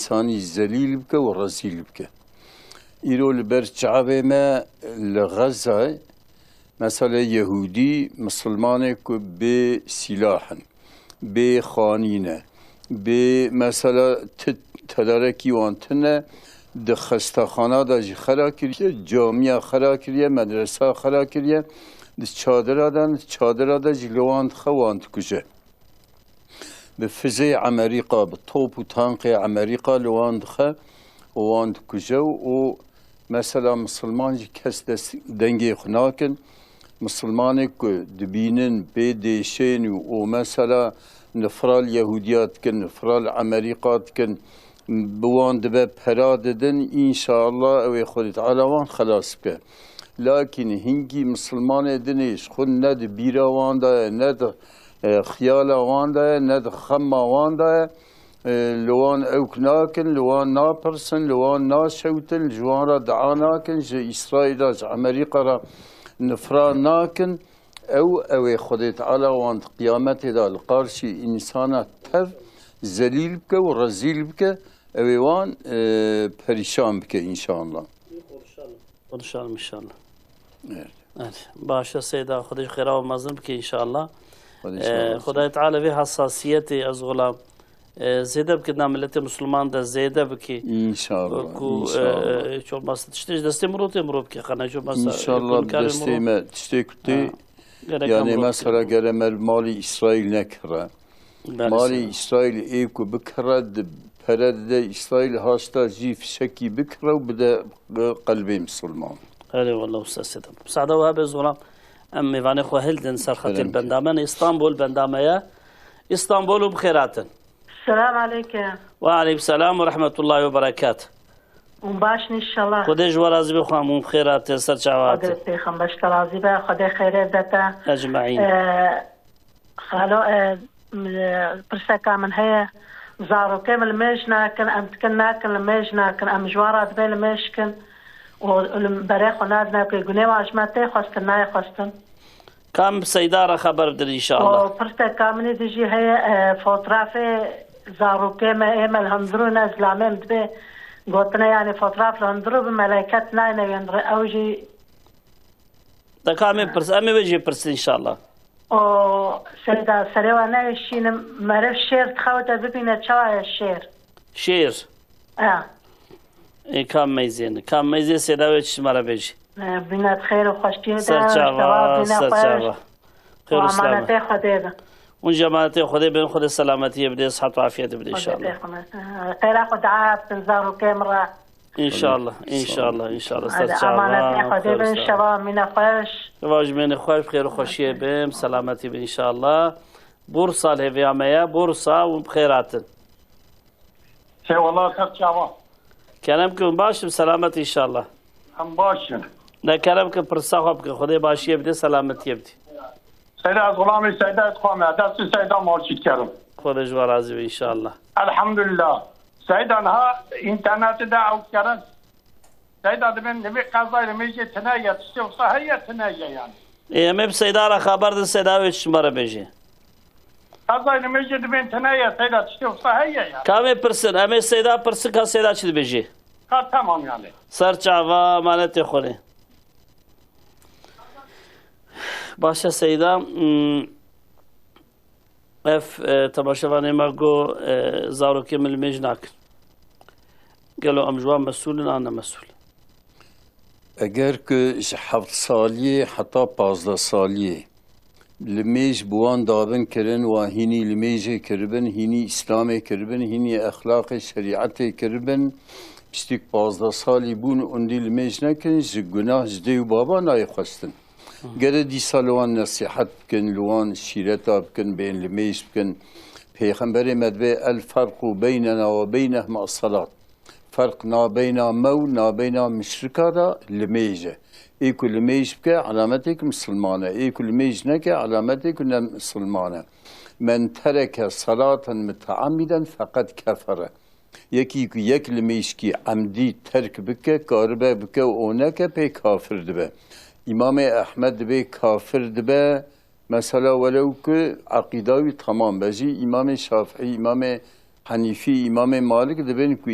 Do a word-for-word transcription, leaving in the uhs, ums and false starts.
însanî zelîl bike û rezîl bike. Îro li ber çavê me li Xezayê, mesela Yehûdî, Misilmanê ku bê sîlah in, bê xanî ne, bê mesela ti tedarekî wan tune, di xestexana de jî xera kiriye, camiya xera kiriye, medresa xera kiriye, di çadira de, di çadira de jî li wan dixe, wan dikuje. Bi fizê Emerîka, bi top û tankê Emerîka li wan dixe û wan dikuje û, û mesela misilman jî kes dest dengê xwe nakin. Misilmanê ku dibînin pê dêşên û, û mesela nifra li Yehûdiya dikin, nifra li Emerîka dikin, bi wan dibe pera didin, înşallah ew ê Xwedê Teala wan xelas bike. Lakîn hinkî misilmanê dinê ji xwe ne di bîra wan de ye, ne di, e, xiyala wan de ye, ne di xema wan de ye. E, li wan ewk nakin, li wan napirsin, li wan naşewtin, ji wan re dua nakin, ji Îsraîl re, ji Emerîka re nifra nakin. Ew, ew ê Xwedê Teala wan di qiyametê de li qarşî însana tev zelîl bike û rezîl bike, ew ê wan, e, perîşan bike înşallah. Konuşalım inşallah. Evet. Evet. Başa Seyda, Xwedê ji xêra we mezin bike inşallah. Xwedê ji xêra we mezin. Xwedayê Teala vê hassasiyetê ez xulam, e, zêde bike, na miletê Musulman de zêde bike. İnşallah, Ku, e, inşallah. E, çok masa tiştê ji destê mirov tê mirov bike, xana çok masa, e, İnşallah bi destê me tiştê ku tê, Ha. Gerek yani amro mesela bike. Gere me malî İsrail nekire. Belê Malê seyda. Îsraîl ê ku bikire, di pere dide Îsraîl, haşta jî fişekî bikire û bide qelbê misilman. Erê wele usta Seydem. Müsaade we hebe zoran em mêvanê xwe hildin ser xetê Kerem benda me. Îstanbul benda me ye. Îstanbul û bi xêr hatin. Selam aleyke. Ve aleykum selam ve rahmetullahi ve berekat. Hûn baş in inşallah. Xwedê ji we razî be xwe, hûn bi xêr hatin, ser çava hatin. Xwedê pêxember ji te razî be, Xwedê xêrê bide te. Ecmaîn. Ee, Xalo, e, m-, e, pirseka min heye. Zarokê min limêj nakin, em dikin nakin limêj nakin, em ji wan re dibê limêj kin û li berê xwe nadine ku gunê wan ji me tê xwestin, nayê xwestin. Kam bi Seyda re xeber bidin inşallah. Û pirseka min ê dijî heye, e, fotrafê zarokê me, ê me li hundir û ne zilamê min dibê gotine, yanî fotraf li hundir û bi meleket nayne wê re, ew jî De ka em ê pirs-, em ê wê jê pirsin inşallah. O Seyda, serê we neyê şînim, meriv şêr dixewite bibîne çawa ye şêr? Şêr. E. Ê, kam meyzên, kam meyzê Seyda wê çi ji me re bêjî? E, bîne di xêr û xweşiyê de, Ser çava, şeva bîne ser xweş. Çava. Xêr û selamet. Emanetê Xwedê be. Hûn jî emanetê Xwedê bin, Xwedê selametiyê bide, sihet û afiyetê bide Xwedê inşallah. Pê xwe. Xêra xwe dua bikin zarokê min re. İnşallah, inşallah, inşallah. Ser çava, xêr û selamet. Şeva mîne xweş. Şeva ji mêne xweş, xêr û xweşiyê bin, selametî bin inşallah. Bursa lê vêya me ye, Bursa û bi xêr hatin. Eyvallah, ser çava. Kerem kin, baş in, selamet inşallah. Em baş in. Ne kerem kin, pirsa xwe bikin, Xwedê başiyê bide, selametiyê bide. Seyda, ez xulamê Seyda, ez xwe me, destê Seyda malşî dikerim. Xwedê ji we razî be inşallah. Elhamdulillah. Seyda, niha înternetê de ew dikerin. Seyda, dibên, dibê qezayê limêjê tune ye, tiştê wisa heye, tune ye yani. Ê, em ê bi Seyda re xeber din, Seyda wê çi ji me re bêjê. Qezayê limêjê dibên tune ye, Seyda, tiştê wisa heye yani. Ka em ê pirsin, em ê Seyda pirsin, ka Seyda çi dibêjê. Ka tamam yani. Ser çava, emanetê Xwedê. Baş e Seyda, hmm, Ev, e, temaşevanê me got, e, zarokê min limêj nakin. Gelo em ji wan mesûl in an ne mesûl? Eger ku ji heft saliyê heta pazdeh saliyê limêj bi wan dabin kirin, wan hînî limêjê kiribin, hînî Îslamê kiribin, hînî exlaqê şerîetê kiribin, piştî ku pazdeh salî bûn ûndî limêj nekin, ji gunah ji dê û baba nayê xwestin. Gere dîsa li wan nesîhet bikin, li wan şîreta bikin, bên limêj bikin. Pêxemberê me dibê, "El ferqu beynena we beynehum es-salat." Ferq nabeyna me û nabeyna muşrika de limêj e. Ê ku limêj bike, elametê ku misilman e. Ê ku limêj neke, elametê ku ne misilman e. "Men tereke salaten muteammiden feqed kefere." Yekî ku yek limêjkî emdî terk bike, karibe bike û neke, pê kafir dibe. Îmamê Ehmed dibê kafir dibe, mesela welew ku eqîda wî temam be jî, Îmamê Şafîî, Îmamê Henîfî, Îmamê Malik dibên ku